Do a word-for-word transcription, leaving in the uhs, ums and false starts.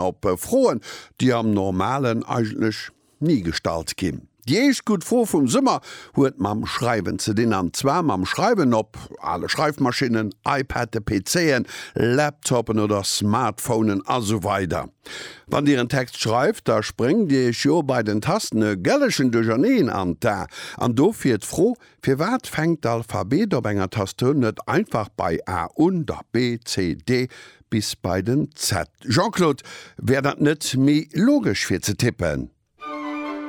Op Froen, déi am Normalen eigentlech ni gestallt ginn. Déi éischt gutt Fro vum Summer huet mam Schreiwen ze dinn, an zwar mam Schreiwen op ale Schreifmaschinnen, iPaden, PCen, Laptopen oder Smartphonen a sou weider. Wann Dir en Text schreift, da spréngt Iech jo bei den Tasten e gëllegen Duercherneen an d'A. An dofir d'Fro, Firwat fänkt d'Alphabet op enger Tastatur net einfach bei A un, da B, C, D bis bei den Z? Jean-Claude, wär dat net méi logesch fir ze tippen?